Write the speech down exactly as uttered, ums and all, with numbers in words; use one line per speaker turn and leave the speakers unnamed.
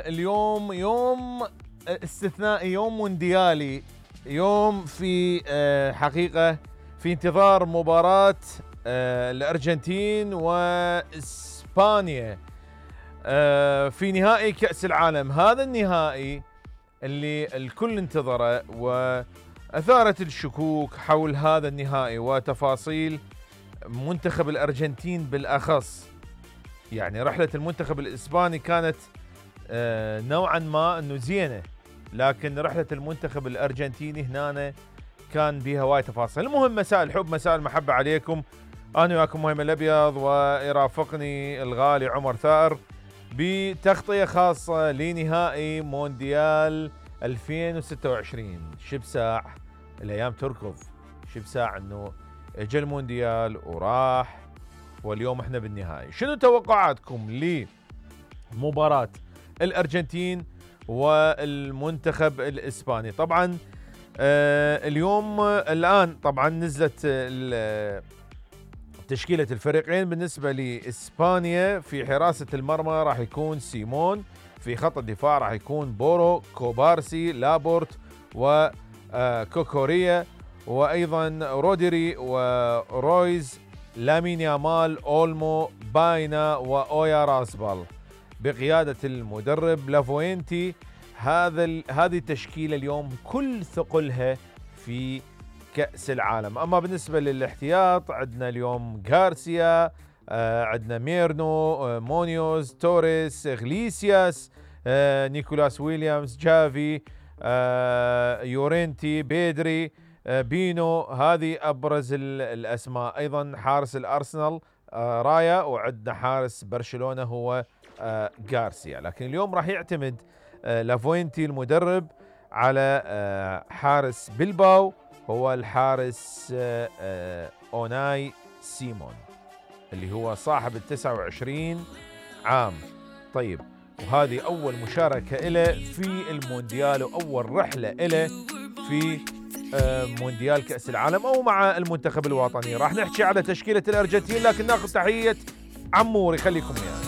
اليوم يوم استثنائي، يوم مونديالي، يوم في حقيقة في انتظار مباراة الأرجنتين وإسبانيا في نهائي كأس العالم. هذا النهائي اللي الكل انتظره وأثارت الشكوك حول هذا النهائي وتفاصيل منتخب الأرجنتين بالأخص. يعني رحلة المنتخب الإسباني كانت نوعا ما انه زينه، لكن رحله المنتخب الارجنتيني هنا كان بها وايد تفاصيل. المهم مساء الحب مساء المحبه عليكم، انا وياكم مهم الابيض، ويرافقني الغالي عمر ثائر بتغطيه خاصه لنهائي مونديال ألفين وستة وعشرين. شب ساع الايام تركض، شب ساع انه اجى المونديال وراح، واليوم احنا بالنهائي. شنو توقعاتكم لمباراه الأرجنتين والمنتخب الإسباني؟ طبعا آه اليوم آه الآن طبعا نزلت آه تشكيلة الفريقين. بالنسبة لإسبانيا في حراسة المرمى راح يكون سيمون، في خط الدفاع راح يكون بورو، كوبارسي، لابورت وكوكوريا، وأيضا روديري ورويز، لامين يامال، أولمو، باينا وأويا راسبال بقيادة المدرب لافوينتي. هذا هذه التشكيلة اليوم كل ثقلها في كأس العالم. أما بالنسبة للاحتياط عندنا اليوم غارسيا، آه عندنا ميرنو، آه مونيوز، توريس، غليسياس، آه نيكولاس ويليامز، جافي، آه يورينتي، بيدري، آه بينو. هذه أبرز الأسماء. أيضا حارس الأرسنال آه رايا، وعندنا حارس برشلونة هو آه غارسيا. لكن اليوم راح يعتمد آه لافوينتي المدرب على آه حارس بلباو، هو الحارس آه آه أوناي سيمون اللي هو صاحب التسعة وعشرين عام. طيب، وهذه أول مشاركة له في المونديال وأول رحلة له في آه مونديال كأس العالم أو مع المنتخب الوطني. راح نحكي على تشكيلة الأرجنتين، لكن ناخذ تحية عمور يخليكم ويانا.